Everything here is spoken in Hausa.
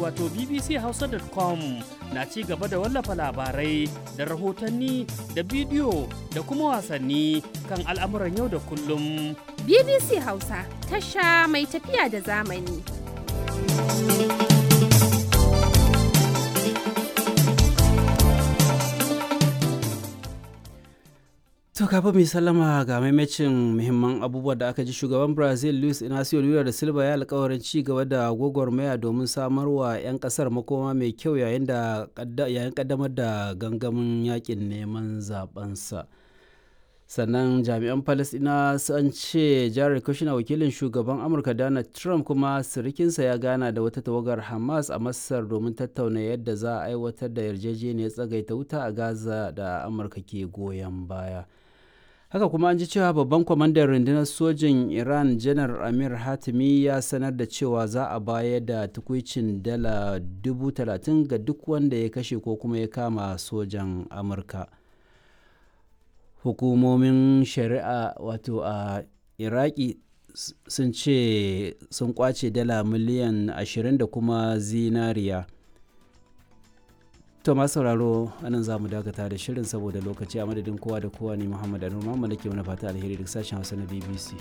wato bbchausa.com na ci gaba da wallafa labarai da rahotanni da bidiyo da kuma wasanni kan al'amuran yau da kullum. BBC Hausa tasha mai tafiya da zamani. To kafin mu sallama ga maimacin muhimman abubuwa da aka ji, shugaban Brazil Luis Inacio Lula da Silva ya alkawarin ci gaba da gwagwarmaya domin samarwa 'yan kasar makoma mai kyau yayin da yayin kaddamar da gangamin yakin neman zabensa. Sannan jami'an Falasɗina sun ce Jared Kushner, wakilin shugaban Amurka Donald Trump kuma sirikinsa, ya gana da wata tawagar Hamas a Masar domin tattauna yadda za a aiwatar da yarjejeniyar tsagaita wuta a Gaza da Amurka ke goyon baya. Haka kuma an ji cewa babban kwamandan rundunar sojin Iran, Janar Amir Hatimi, ya sanar da cewa za a bayar da tukwicin dala 30,000 ga duk wanda ya kashe ko kuma ya kama sojan Amurka. Hukumomin shari'a wato a Iraki sun ce sun kwace dala miliyan 20 da kuma zinariya. To masu sauraro, anan za mu dakata da shirin saboda lokaci. A madadin kowa da kowa ne, Muhammad Anur Muhammad ke mana fata alheri duk sashen Hausa na BBC.